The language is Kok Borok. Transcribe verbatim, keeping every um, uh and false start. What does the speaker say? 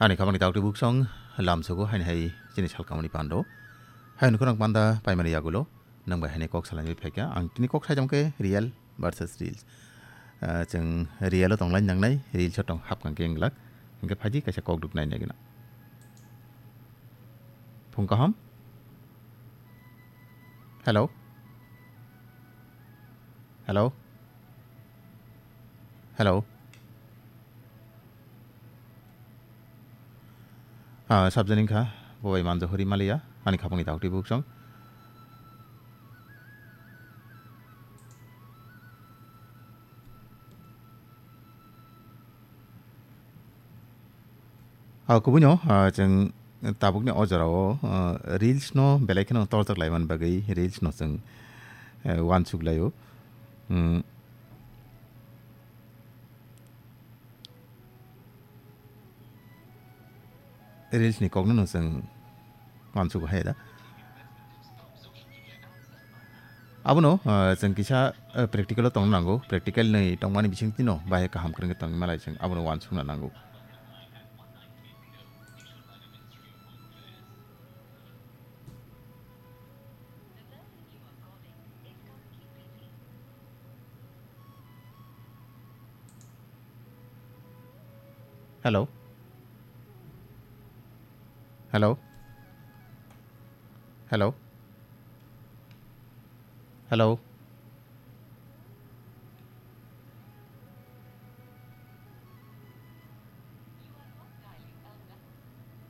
Ani khamani taktwi buksong lamsogo haini hai chini salkamani pando. Haini khorang panda paimani yagulo nwng bai haini kok salaini phaikha. Ang tini kok saijam khe real versus reels. Ah, chwng real o tonglai nangnai, reels o tong hapkang khe wnglak. Hwnkhe phaidi kaisa kok duk nai nai gwnang. Phung kaham. Hello. Hello. Hello. Ah, sabjani kha, bo bai manjo hori maliya, ani khapangni taktwi buksong. Ah, kubui no, ah, chwng tabukni o jorao, ah, reels no belai kheno torjak laimani bagwi reels no chwng, eh, uansuk laio. Hmm. Reels ni kokno no chwng uansuk hai da. Abono, ah, chwng kisa, ah, practical o tongna nango. Practical ni tongmani bisingtwi no bahai kaham kwrwngkhe tongwi malai chwng abono uansukna nango. Hello. Hello. Hello. Hello.